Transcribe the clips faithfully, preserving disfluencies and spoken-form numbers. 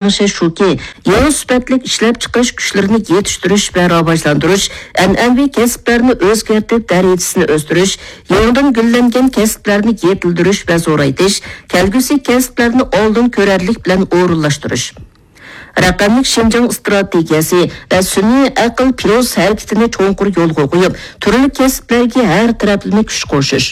تەڭشەش شۇكى، يېڭى سۈپەتلىك ئىشلەپچىقىرىش كۈچلىرىنى يېتىشتۈرۈش ۋە راۋاجلاندۇرۇش، ئەنئەنىۋى كەسىپلەرنى ئۆزگەرتىپ، دەرىجىسىنى ئۆستۈرۈش، يېڭىدىن گۈللەنگەن كەسىپلەرنى يېتىلدۈرۈش ۋە زورايتىش، كەلگۈسى كەسىپلەرنى ئالدىن كۆرەرلىك بىلەن ئورۇنلاشتۇرۇش. رەقەملىك شىنجاڭ ئىستراتېگىيەسى ۋە سۈنئىي ئەقىل پىروس ھەرىكىتىنى چوڭقۇر يولغا قويۇپ، تۈرلۈك كەسىپلەرگە ھەر تەرەپلىمە كۈچ قوشۇش.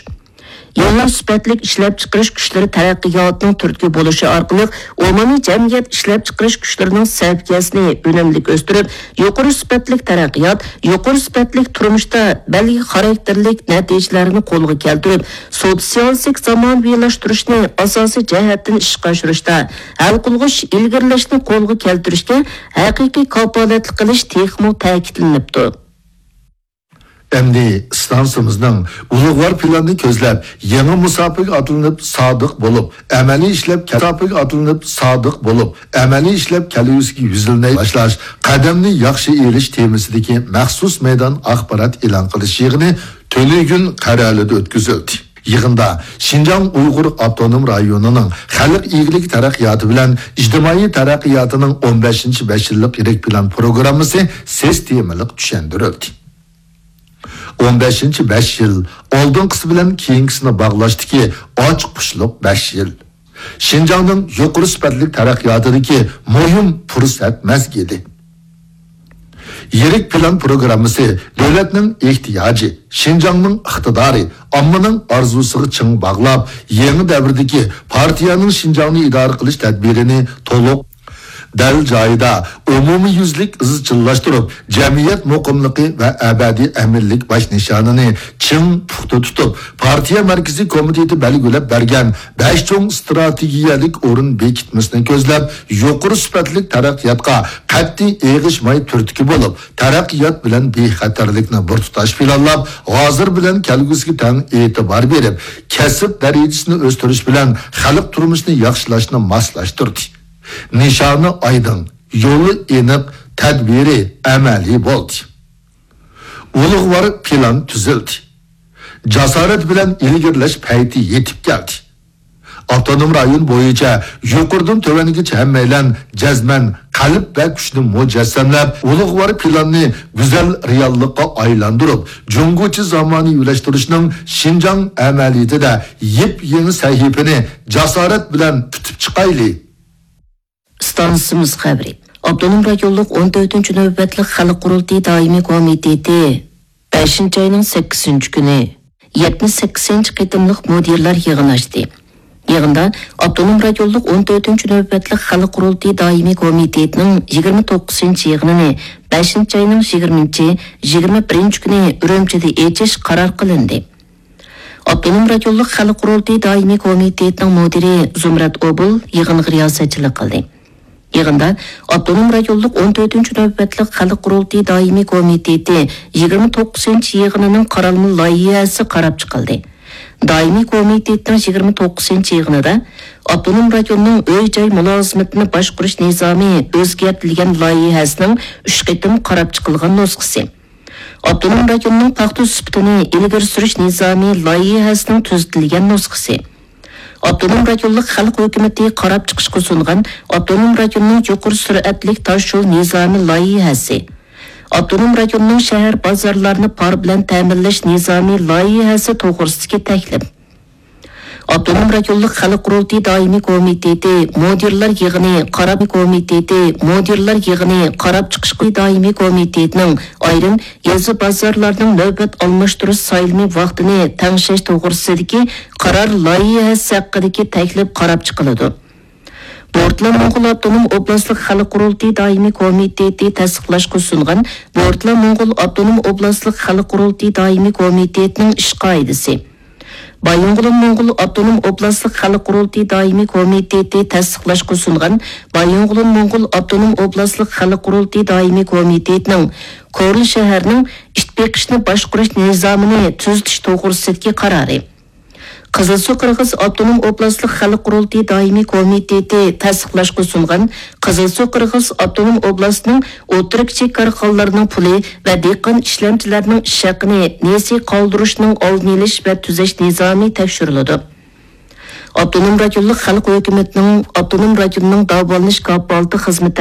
يېڭى سۈپەتلىك ئىشلەپچىقىرىش كۈچلىرى تەرەققىياتىنىڭ تۈرتكە بولۇشى ئارقىلىق ئومۇمىي جەمئىيەت ئىشلەپچىقىرىش كۈچلىرىنىڭ سەۋىيەسىنى ئۈنۈملۈك ئۆستۈرۈپ، يۇقىرى سۈپەتلىك تەرەققىيات، يۇقىرى سۈپەتلىك تۇرمۇشتا بەلگە خاراكتېرلىك نەتىجىلەرنى قولغا كەلتۈرۈپ، سوتسىيالىستىك زامانىۋىلاشتۇرۇشنى ئاساسىي جەھەتتىن ئىشقا ئاشۇرۇشتا ھەل قىلغۇچ ئىلگىرىلەشنى قولغا كەلتۈرۈشكە ھەقىقىي كاپالەتلىك قىلىش تېخىمۇ تەكىتلىنىپتۇ. ئەمدى ئىستانسىمىزنىڭ ئۇلۇغۋار پىلاننى كۆزلەپ، يېڭى مۇساپىگە ئاتلىنىپ سادىق بولۇپ، ئەمەلىي ئىشلەپ مۇساپىگە ئاتلىنىپ سادىق بولۇپ، ئەمەلىي ئىشلەپ كەلگۈسىگە يۈزلىنەي باشلاش، قەدەمنى ياخشى ئېلىش تېمىسىدىكى مەخسۇس مەيدان ئاخبارات ئېلان قىلىش يىغىنى تۈنۈگۈن قەرەلىدە ئۆتكۈزۈلدى. يىغىندا شىنجاڭ ئۇيغۇر ئاپتونوم رايونىنىڭ خەلق ئىگىلىك تەرەققىياتى بىلەن ئىجتىمائىي تەرەققىياتىنىڭ ئون بەشىنچى بەش يىللىق يىرىك پىلان پروگراممىسى سىستېمىلىق چۈشەندۈرۈلدى. ئون بەشىنچى بەش يىل ئالدىنقىسى بىلەن كېيىنكىسىنى باغلاشتىكى ئاچقۇچلۇق بەش يىل. شىنجاڭنىڭ يۇقىرى سۈپەتلىك تەرەققىياتىدىكى مۇھىم پۇرسەت مەزگىلى. يىرىك پىلان پروگراممىسى دۆلەتنىڭ ئېھتىياجى، شىنجاڭنىڭ ئىقتىدارى، ئاممىنىڭ ئارزۇسىغا چىڭ باغلاپ، يېڭى دەۋردىكى پارتىيەنىڭ شىنجاڭنى ئىدارە قىلىش تەدبىرىنى تولۇق، دەل جايىدا، ئومۇميۈزلۈك ئىزچىللاشتۇرۇپ، جەمئىيەت مۇقىملىقى ۋە ئەبەدىي ئەمىنلىك باش نىشانىنى چىڭ پۇختا تۇتۇپ، پارتىيە مەركىزىي كومىتېتى بەلگىلەپ بەرگەن بەش چوڭ ئىستراتېگىيەلىك ئورۇن بېكىتمىسىنى كۆزلەپ، يۇقىرى سۈپەتلىك تەرەققىياتقا قەتئىي ئېغىشماي تۈرتكە بولۇپ، تەرەققىيات بىلەن بىخەتەرلىكنى بىر تۇتاش پىلانلاپ، ھازىر بىلەن كەلگۈسىگە تەڭ ئېتىبار بېرىپ، كەسىپ دەرىجىسىنى ئۆستۈرۈش بىلەن خەلق تۇرمۇشىنى ياخشىلاشنى ماسلاشتۇردى. نىشانى ئايدىڭ، يولى ئېنىق، تەدبىرى ئەمەلىي بولدى. ئۇلۇغۋار پىلان تۈزۈلدى. جاسارەت بىلەن ئىلگىرىلەش پەيتى يېتىپ كەلدى. ئاپتونوم رايون بويىچە يۇقىرىدىن تۆۋەنگىچە ھەممەيلەن جەزمەن قەلب ۋە كۈچنى مۇجەسسەملەپ، ئۇلۇغۋار پىلاننى گۈزەل رېئاللىققا ئايلاندۇرۇپ، جۇڭگوچە زامانىۋىلاشتۇرۇشنىڭ شىنجاڭ ئەمەلىيىتىدە يېپيېڭى سەھىپىنى جاسارەت بىلەن پۈتۈپ چىقايلى. ئىستانسىمىز خەۋىرى. ئاپتونوم رايونلۇق ئون تۆتىنچى نۆۋەتلىك خەلق قۇرۇلتىيى دائىمىي كومىتېتى بەشىنچى ئاينىڭ سەككىزىنچى كۈنى يەتمىش سەككىزىنچى قېتىملىق مۇدىرلار يىغىنى ئاچتى. يىغىندا ئاپتونوم رايونلۇق ئون تۆتىنچى نۆۋەتلىك خەلق قۇرۇلتىيى دائىمىي كومىتېتىنىڭ يىگىرمە توققۇزىنچى يىغىنىنى بەشىنچى ئاينىڭ يىگىرمىنچى، يىگىرمە بىرىنچى كۈنى ئۈرۈمچىدە ئېچىش قارار قىلىندى. ئاپتونوم رايونلۇق خەلق قۇرۇلتىيى دائىمىي كومىتېتىنىڭ مۇدىرى زۇمرەت ئوبۇل يىغىنغا رىياسەتچىلىك قىلدى. يىغىندا ئاپتونوم رايونلۇق ئون تۆتىنچى نۆۋەتلىك خەلق قۇرۇلتىيى دائىمىي كومىتېتى يىگىرمە توققۇزىنچى يىغىنىنىڭ قارالما لايىھەسى قاراپ چىقىلدى. دائىمىي كومىتېتنىڭ يىگىرمە توققۇزىنچى يىغىنىدا ئاپتونوم رايوننىڭ ئۆي-جاي مۇلازىمىتىنى باشقۇرۇش نىزامى ئۆزگەرتىلگەن لايىھەسىنىڭ ئۈچ قېتىم قاراپ چىقىلغان نۇسخىسى، ئاپتونوم رايوننىڭ پاختا سۈپىتىنى ئىلگىرى سۈرۈش نىزامى لايىھەسىنىڭ تۈزىتىلگەن نۇسخىسى، ئاپتونوم رايونلۇق خەلق ھۆكۈمىتى قاراپ چىقىشقا سۇنغان ئاپتونوم رايوننىڭ يۇقىرى سۈرئەتلىك تاشيول نىزامى لايىھەسى، ئاپتونوم رايوننىڭ شەھەر بازارلارنى پار بىلەن تەمىنلەش نىزامى لايىھەسى توغرىسىدىكى تەكلىپ، ئاپتونوم رايونلۇق خەلق قۇرۇلتىيى دائىمىي كومىتېتى مۇدىرلار يىغىنى قاراپ كومىتېتى مۇدىرلار يىغىنى قاراپ چىقىش دائىمىي كومىتېتىنىڭ ئايرىم يېزا بازارلارنىڭ نۆۋەت ئالماشتۇرۇش سايلىمى ۋاقتىنى تەڭشەش توغرىسىدىكى قارار لايىھەسى ھەققىدىكى تەكلىپ قاراپ چىقىلىدۇ. بورتلا موڭغۇل ئاپتونوم ئوبلاستلىق خەلق قۇرۇلتىيى دائىمىي كومىتېتى تەستىقلاشقا سۇنغان بورتلا موڭغۇل ئاپتونوم ئوبلاستلىق خەلق قۇرۇلتىيى دائىمىي كومىتېتىنىڭ ئىش قائىدىسى، بايىنغولىن موڭغۇل ئاپتونوم ئوبلاستلىق خەلق قۇرۇلتىيى دائىمىي كومىتېتى تەستىقلاشقا سۇنغان بايىنغولىن موڭغۇل ئاپتونوم ئوبلاستلىق خەلق قۇرۇلتىيى دائىمىي كومىتېتىنىڭ كورلا شەھەرنىڭ ئىت بېقىشنى باشقۇرۇش نىزامىنى تۈزىتىش توغرىسىدىكى قارارى، قىزىلسۇ قىرغىز ئاپتونوم ئوبلاستلىق خەلق قۇرۇلتىيى دائىمىي كومىتېتى تەستىقلاشقا سۇنغان قىزىلسۇ قىرغىز ئاپتونوم ئوبلاستىنىڭ ئوتتۇرا كىچىك كارخانىلارنىڭ پۇلى ۋە دېھقان ئىشلەمچىلەرنىڭ ئىش ھەققىنى نېسى قالدۇرۇشنىڭ ئالدىنى ئېلىش ۋە تۈزەش نىزامى تەكشۈرۈلىدۇ. ئاپتونوم رايونلۇق خەلق ھۆكۈمىتىنىڭ ئاپتونوم رايوننىڭ داۋالىنىش كاپالىتى خىزمىتى